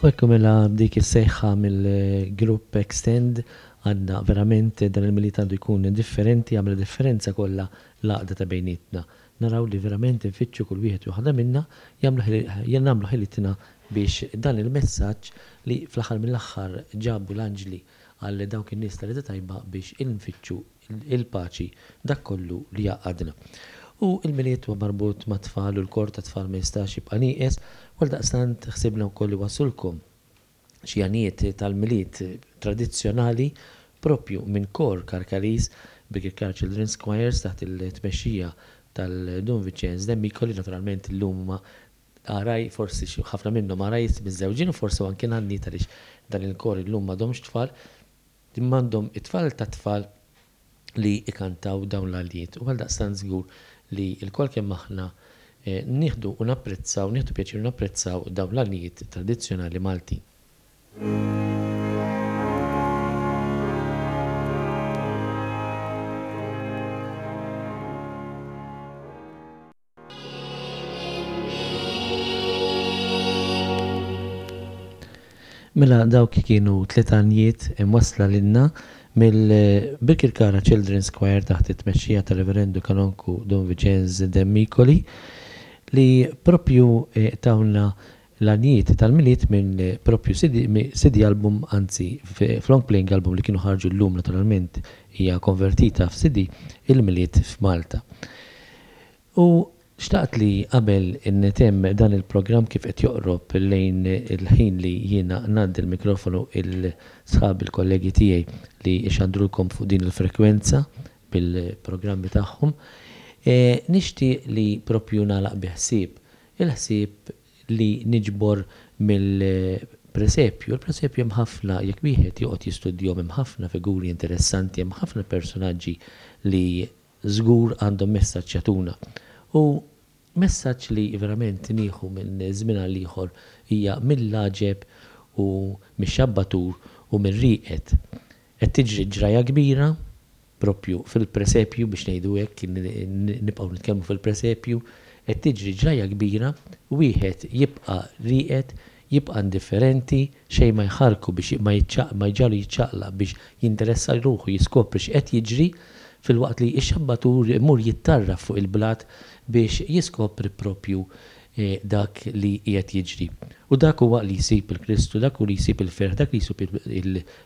U hekk mela b'dik is-sejħa mill-grupp Extend għandna verament dan il-Milied għandu jkun differenti, jagħmel differenza kollha l-għaqda ta' bejnietna. Naraw li verament infittxu kull wieħed u waħda minna jagħmlu nagħmlu ħilitna biex dan il-messaġġ li fl-aħħar mill-aħħar ġabu l-anġli għal dawk in-nies ta' rieda tajba biex infittxu il-paċi, dak kollu li jgħaqqadna. U l-Milied huwa marbut mat-tfal u l-kor tat-tfal ma jistax jibqa' nieqes, u għaldaqstant ħsibna wkoll li wassulkom xi għanijiet tal-Milied tradizzjonali proprju minn kor Karkariż, Birkirkara Children's Choirs taħt il-tmexxija tal-Dun Vinċenz Demmico li naturalment illum huma għaraj, forsi xi ħafna minnhom għarajs miżżewġin u forsi anke nanniet għaliex dan il-kor illum m'għadhomx tfal. Imma għandhom it-tfal tat-tfal li jkantaw dawn l-għaljiet u għaldaqstant żgur li lkoll kemm aħna nieħdu u napprezzaw, nieħdu pjaċir u napprezzaw dawn l-għaljiet tradizzjonali Maltin. Mela dawk kienu tliet għanjiet imwassla lilna mill-Birkirkara Children's Choir taħt it-tmexxija tar-Reverendu Kanonku Dun Viċenz Demmicoli li propju eh, tawna l-għanjiet tal-Milied minn propju CD, CD album, anzi f'long playing album li kienu ħarġu llum naturalment hija konvertita f'CD il-Milied f'Malta. U xtaqt li qabel ntemm dan il-programm kif qed joqrob lejn il-ħin li jiena ngħaddi l-mikrofonu 'l sħabi l-kollegi tiegħi li jxandrulkom fuq din il-frekwenza bil-programmi tagħhom, nixtieq li proprju nagħlaq bi ħsieb. Il-ħsieb li niġbor mill-presepju. Il-presepju hemm ħafna, jekk wieħed joqgħod jistudjahom hemm ħafna figuri interessanti, hemm ħafna personaġġi li żgur għandhom messaġġ jagħtuna. U messaġġ li verament nieħu minn żmien għal ieħor hija mill-għaġeb u mix-xabbatur u mir-rieqed. Qed tiġri ġrajja kbira propju fil-presepju biex ngħidu hekk, nibqgħu nitkellmu fil-presepju, qed tiġri ġrajja kbira, wieħed jibqa' rieqed, jibqa' indifferenti, xejn ma jħarrku biex ma jġagħlu jiċċaqlaq biex jinteressa ruħu jiskopri x'qed jiġri, filwaqt li x-xabbatur imur jittarraf fuq il-blat biex jiskopri proprju dak li qiegħed jiġri. U dak huwa li jsib il-Kristu, dak hu li jsib il-ferħ, dak li jsib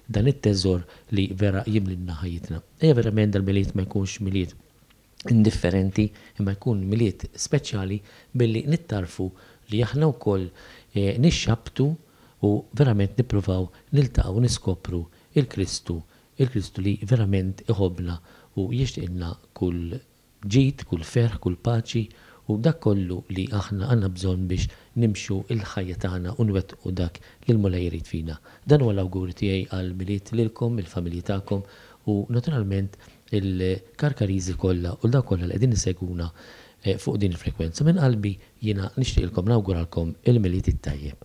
dan it-teżor li vera jimlilna ħajjitna. Ejja verament dal-Milied ma jkunx Milied indifferenti imma jkun Milied speċjali billi nittarrfu li aħna wkoll nixxabbtu u verament nippruvaw niltaqgħu u niskopru il-Kristu, il-Kristu li verament iħobbna u jixtieqilna kull ġid, kull ferħ, kull paċi u dak kollu li aħna għandna bżonn biex nimxu l-ħajja tagħna u nwettqu dak li l-Mulej irid fina. Dan huwa l-awguri tiegħi għall-Milied lilkom, il-familji tagħkom u naturalment il-Karkariżi kollha u 'l dawk kollha li qegħdin isegwuna fuq din il-frekwenza. Minn qalbi jiena nixtieqilkom nawguralkom il-Milied it-tajjeb.